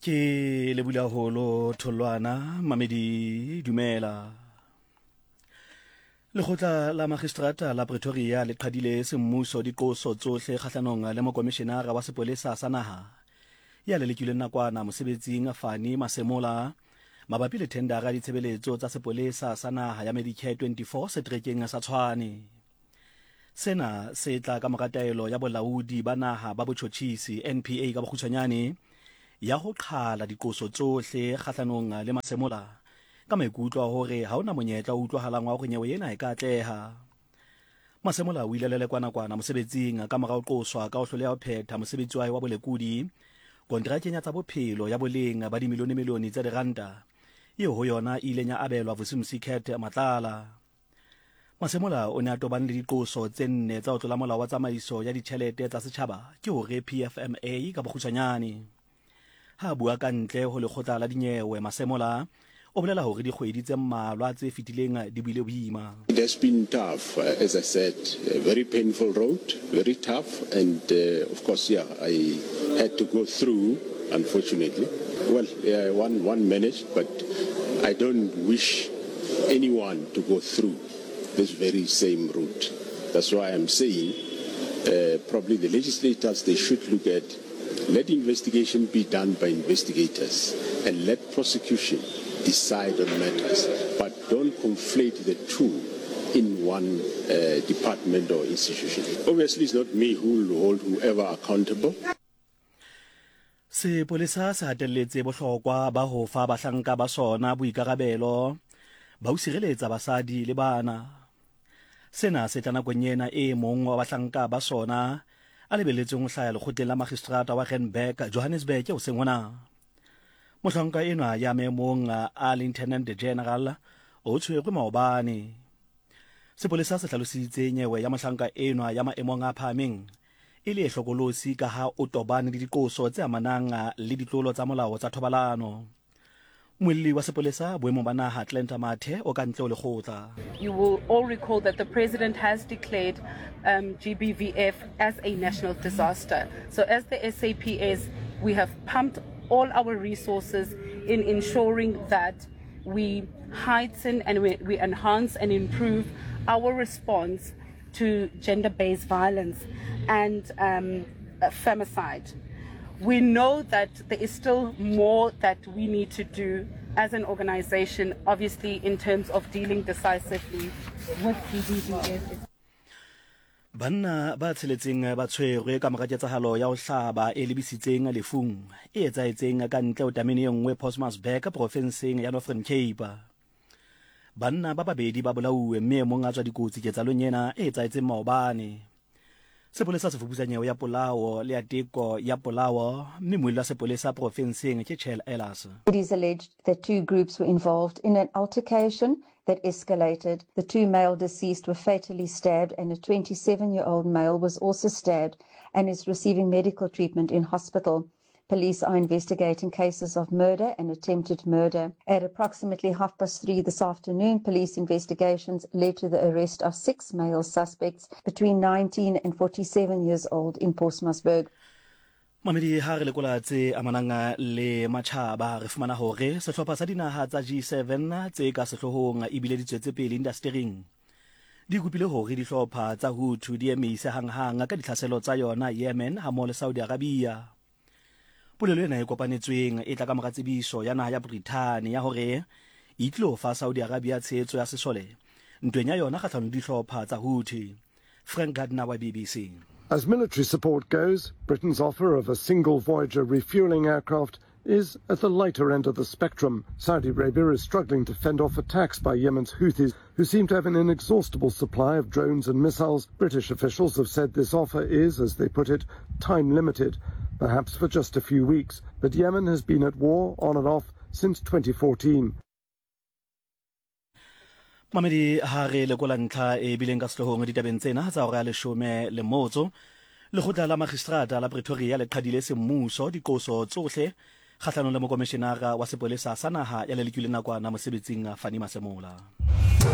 Ke lebula holo tholwana mamedi dumela. Lekgotla la Magistrata la Pretoria le qhadile semmuso diqoso tsohle kgahlanong le mokomishenara wa sepolesa sa naha ya lelekilweng nakwana mosebetsing Fani Masemola mabapi le thendara ya ditshebeletso tsa sepolesa sa naha ya Medicare 24 seterekeng sa Tshwane. Sena se tla ka mora taelo ya Bolaodi ba Naha ba Botjhotjhisi, NPA ka bokgutshwanyane, ya ho qhala diqoso tsohle kgahlanong le Masemola ka maikutlo a hore ha ho na monyetla o utlwahalang wa hore nyewe ena e ka atleha. Masemola o ile a lelekwa nakwana mosebetsing ka mora ho qoswa ka ho hloleha ho phetha mosebetsi wa hae wa bolekodi konterakeng ya tsa bophelo ya boleng ba dimilionemilione tsa diranta eo ho yona e ileng ya abelwa Vusimusi Cat Matlala. Masemola o ne a tobane le diqoso tse nne tsa ho tlola molao wa tsamaiso ya ditjhelete tsa setjhaba ke hore PFMA ka bokgutshwanyane. Ha a bua ka ntle ho lekgotla la dinyewe, Masemola o bolela hore dikgwedi tse mmalwa tse fetileng di bile boima. It has been tough, as I said, a very painful road, very tough, and of course, yeah, I had to go through, unfortunately. Well, yeah, one, one managed, but I don't wish anyone to go through this very same route. That's why I'm saying uh, probably the legislators, they should look at, let investigation be done by investigators and let prosecution decide on matters, but don't conflate the two in one uh, department or institution. Obviously, it's not me who will hold whoever accountable. Sepolesa se hatelletse bohlokwa ba ho fa bahlanka ba sona boikarabelo ba ho sireletsa basadi le bana. Sena se tla nakong ena e mong wa bahlanka ba sona a lebelletsweng ho hlaya lekgotleng la magistrata wa Randburg, Johannesburg hoseng hona. Mohlanka enwa ya maemong a Lieutenant General o tshwerwe maobane. Sepolesa se hlalositse nyewe ya mohlanka enwa ya maemong a phahameng e le e hlokolosi ka ha o tobane le diqoso tse amanang le ditlolo tsa molao tsa thobalano. Muelli wa sepolesa boemong ba naha Glenda Mathe o ka ntle ho lekgotla. You will all recall that the president has declared um, GBVF as a national disaster. So as the SAPS, we have pumped all our resources in ensuring that we heighten and we, we enhance and improve our response to gender-based violence and um, uh, femicide. We know that there is still more that we need to do as an organization, obviously in terms of dealing decisively with GBVF. Banna ba tsheletseng ba tshwerwe ka mora ketsahalo ya ho hlaba e lebisitseng lefung e etsahetseng ka ntle ho tamene e nngwe Postmasburg profenseng ya Northern Cape. Banna ba babedi ba bolauwe mme e mong a tswa dikotsi ketsalong ena e etsahetseng maobane. Sepolesa se fuputsa nyewe ya polao le ya teko ya polao mme muelli wa sepolesa profenseng ke Chel Ehlers. It is alleged that two groups were involved in an altercation that escalated. The two male deceased were fatally stabbed and a 27-year-old male was also stabbed and is receiving medical treatment in hospital. Police are investigating cases of murder and attempted murder. At approximately 3:30 this afternoon, police investigations led to the arrest of six male suspects between 19 and 47 years old in Postmasburg. Mamedi ha re lekola tse amanang le matjhaba re fumana hore sehlopha sa dinaha tsa G7 tse ka sehloohong ebile di tswetse pele indastering di kopile hore dihlopha tsa Houthi di emise hanghang ka ditlhaselo tsa yona Yemen hammoho le Saudi Arabia. Polelo ena e kopanetsweng e tla ka mora tsebiso ya naha ya Brithani ya hore e tlilo fa Saudi Arabia tshehetso ya sesole ntweng ya yona kgahlanong le dihlopha tsa Houthi. Frank Gardner wa BBC. As military support goes, Britain's offer of a single Voyager refueling aircraft is at the lighter end of the spectrum. Saudi Arabia is struggling to fend off attacks by Yemen's Houthis, who seem to have an inexhaustible supply of drones and missiles. British officials have said this offer is, as they put it, time limited, perhaps for just a few weeks. But Yemen has been at war on and off since 2014. Mamedi ha re lekola ntlha e bileng ka sehloohong ditabeng tsena tsa hora ya leshome le motso, lekgotla la magistrata la Pretoria le qhadile semmuso diqoso tsohle kgahlanong le mokomishenara wa sepolesa sa naha ya lelekilweng nakwana mosebetsing Fannie Masemola.